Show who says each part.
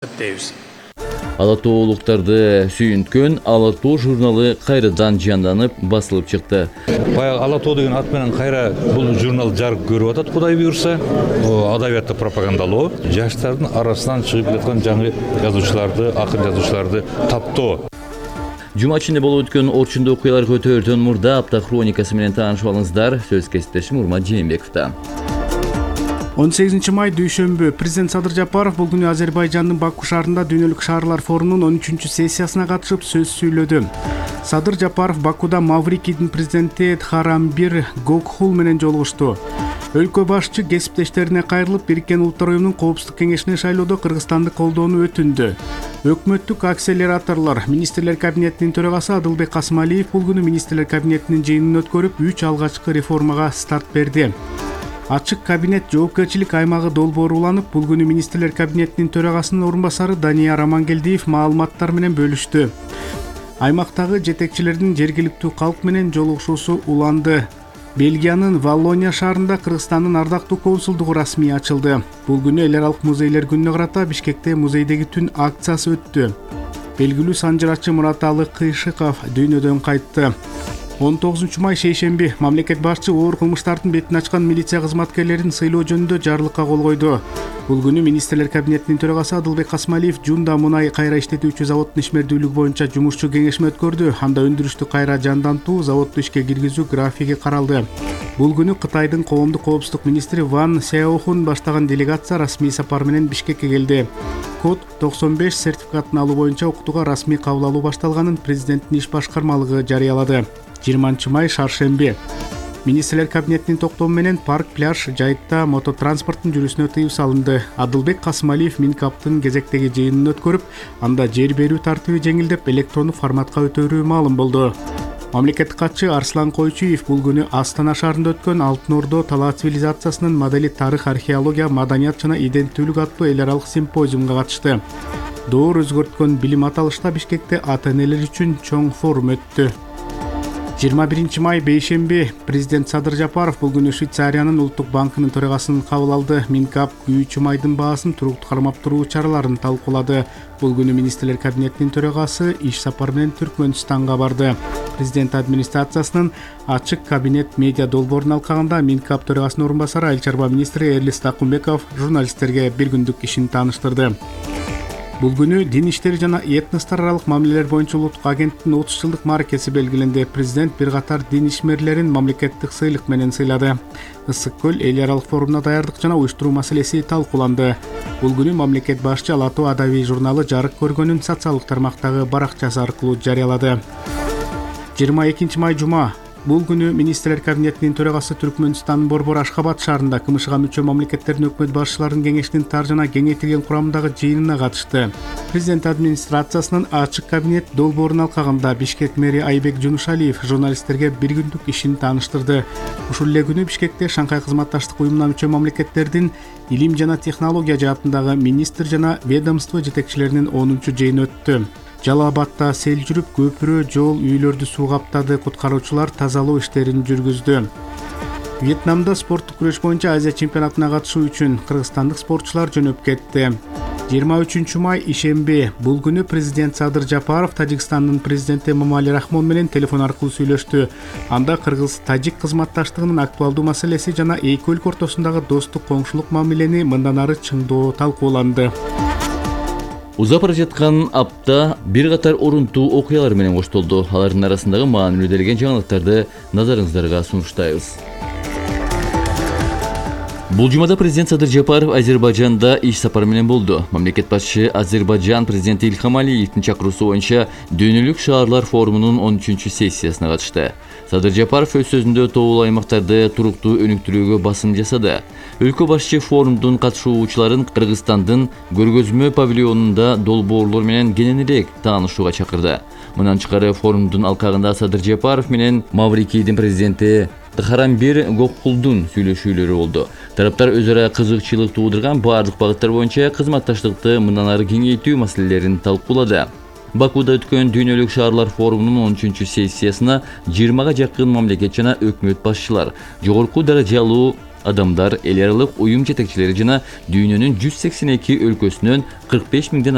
Speaker 1: эсептейбиз.
Speaker 2: Ала тоолуктарды сүйүнткөн Ала тоо журналы кайрадан жанданып басылып чыкты.
Speaker 3: Баягы Ала тоо деген ат менен кайра бул журнал жарык көрүп атат, Кудай буйрса. Адабиятты пропагандалоо, жаштардын арасынан чыгып жаткан жаңы жазуучуларды, акын жазуучуларды таптоо.
Speaker 2: Жума ичинде болуп өткөн орчундуу окуяларга өтөөрдөн мурда апта хроникасы менен таанышып алыңыздар. Сөз кесиптешим Урмат Жээнбековдо.
Speaker 1: 18 май дүйшөмбү президент Садыр Жапаров бул күнү Азербайжандын Баку шаарында Дүйнөлүк шаарлар форумунун 13-чү сессиясына катышып сөз сүйлөдү. Садыр Жапаров Бакуда Маврикийдин президенти Тхарамбир Гокхул менен жолугушту. Өлкө башчы кесиптештерине кайрылып, Бириккен Улуттар уюмунун Коопсуздук кеңешине шайлоодо Кыргызстанды колдоону өтүндү. Өкмөттүк акселераторлор Министрлер кабинетинин төрагасы Адылбек Касымалиев бул күнү Министрлер кабинетинин жыйынын өткөрүп, 3 алгачкы реформага старт берди. Ачык кабинет жоопкерчилик аймагы долбоору уланып, бул күнү Министрлер кабинетинин төрагасынын орун басары Данияр Амангелдиев маалыматтар менен бөлүштү. Аймактагы жетекчилердин жергиликтүү калк менен жолугушуусу уланды. Бельгиянын Валлония шаарында Кыргызстандын ардактуу консулдугу расмий ачылды. Бул күнү эл аралык музейлер күнүнө карата Бишкекте музейдеги түн акциясы өттү. Белгилүү санжырачы Мураталы Кыйшыков дүйнөдөн кайтты. 19 май шейшемби мамлекет башчы оор кылмыштардын бетин ачкан милиция кызматкерлерин сыйлоо жөнүндө жарлыкка кол койду. Бул күнү Министрлер кабинетинин төрагасы Адылбек Касымалиев Жунда мунай кайра иштетүүчү заводдун ишмердүүлүгү боюнча жумушчу кеңешме өткөрдү. Анда өндүрүштү кайра жандантуу, заводду ишке киргизүү графиги каралды. Бул күнү Кытайдын коомдук коопсуздук министри Ван Сяохун баштаган делегация расмий сапар менен Бишкекке келди. Код 95 сертификатын алуу боюнча окутууга расмий кабыл алуу башталганын президенттин иш башкармалыгы жарыялады. 20 май шаршемби. Министрлер кабинетинин токтому менен парк, пляж, жайытта мототранспорттун жүрүүсүнө тыюу салынды. Адылбек Касымалиев Минкаптын кезектеги жыйынын өткөрүп, анда жер берүү тартиби жеңилдеп, электрондук форматка өтөрүү маалым болду. Мамлекеттик катчы Арслан Койчуев бул күнү Астана шаарында өткөн Алтын Ордо талаа цивилизациясынын модели тарых, археология, маданият жана иденттүүлүк аттуу эл аралык симпозиумга катышты. Доор өзгөрткөн билим аталышта Бишкекте ата-энелер үчүн чоң форум өттү. 21 май бейшемби президент Садыр Жапаров бул күнү Швейцариянын улуттук банкынын төрагасын кабыл алды. Минкап күйүүчү майдын баасын туруктуу кармап туруу чараларын талкуулады. Бул күнү Министрлер кабинетинин төрагасы иш сапар менен Түркмөнстанга барды. Президент администрациясынын ачык кабинет медиа долбоорун алкагында Минкап төрагасынын орун басары айыл чарба министри Эрлис Такумбеков журналисттерге бир күндүк ишин тааныштырды. Бул күнү дин иштери жана этностор аралык мамилелер боюнча улуттук агенттиктин 30 жылдык маркеси белгиленди. Президент бир катар дин ишмерлерин мамлекеттик сыйлык менен сыйлады. Ысык көл эл аралык форумуна даярдык жана уюштуруу маселеси талкууланды. Бул күнү мамлекет башчы Ала тоо адабий журналы жарык көргөнүн социалдык тармактагы баракчасы аркылуу жарыялады. 22 май жума. Бул күнү Министрлер кабинетинин төрагасы Түркмөнстандын Борбор Ашхабад шаарында КМШга мүчө мамлекеттердин өкмөт башчыларынын кеңешинин тар жана кеңейтилген курамындагы жыйынына катышты. Президент администрациясынын ачык кабинет долбоорун алкагында Бишкек мэри Айбек Жунушалиев журналисттерге бир күндүк ишин тааныштырды. Ушул эле күнү Бишкекте Шанхай кызматташтык уюмуна мүчө мамлекеттердин илим жана технология жаатындагы министр жана ведомство жетекчилеринин 10-чу жыйыны өттү. Жалал Абадта сел жүрүп, көпүрө, жол, үйлөрдү суу каптады. Куткаруучулар тазалоо иштерин жүргүздү. Вьетнамда спорттук күрөш боюнча Азия чемпионатына катышуу үчүн кыргызстандык спортчулар жөнөп кетти. 23 май ишемби. Бул күнү президент Садыр Жапаров Тажикстандын президенти Эмомали Рахмон менен телефон аркылуу сүйлөштү. Анда кыргыз-тажик кызматташтыгынын актуалдуу маселеси жана эки өлкө ортосундагы достук коңшулук мамилени мындан ары чыңдоо талкууланды.
Speaker 2: Узап бара жаткан апта бир катар орунтуу окуялар менен коштолду. Алардын арасындагы маанилүү делген жаңылыктарды назарыңыздарга сунуштайбыз. Бул жумада президент Садыр Жапаров Азербайжанда иш сапары менен болду. Мамлекет башчы Азербайжан президенти Ильхам Алиевдин чакыруусу боюнча Дүйнөлүк шаарлар форумунун 13-чү сессиясына катышты. Садыр Жапаров өз сөзүндө тоолуу аймактарды туруктуу өнүктүрүүгө басым жасады. Өлкө башчы форумдун катышуучуларын Кыргызстандын көргөзмө павильонунда долбоорлор менен кененирээк таанышууга чакырды. Мындан тышкары форумдун алкагында Садыр Жапаров менен Маврикийдин президенти Тхарамбир Гокхулдун сүйлөшүүлөрү болду. Тараптар өз ара кызыкчылык туудурган баардык багыттар боюнча кызматташтыкты мындан ары кеңейтүү маселелерин талкуулады. Бакуда өткөн Дүйнөлүк шаарлар форумунун 13-сессиясына 20га жакын мамлекет жана өкмөт башчылар, жогорку даражалуу Адамдар эл аралык уюм жетекчилери жана дүйнөнүн 182 өлкөсүнөн 45 миңден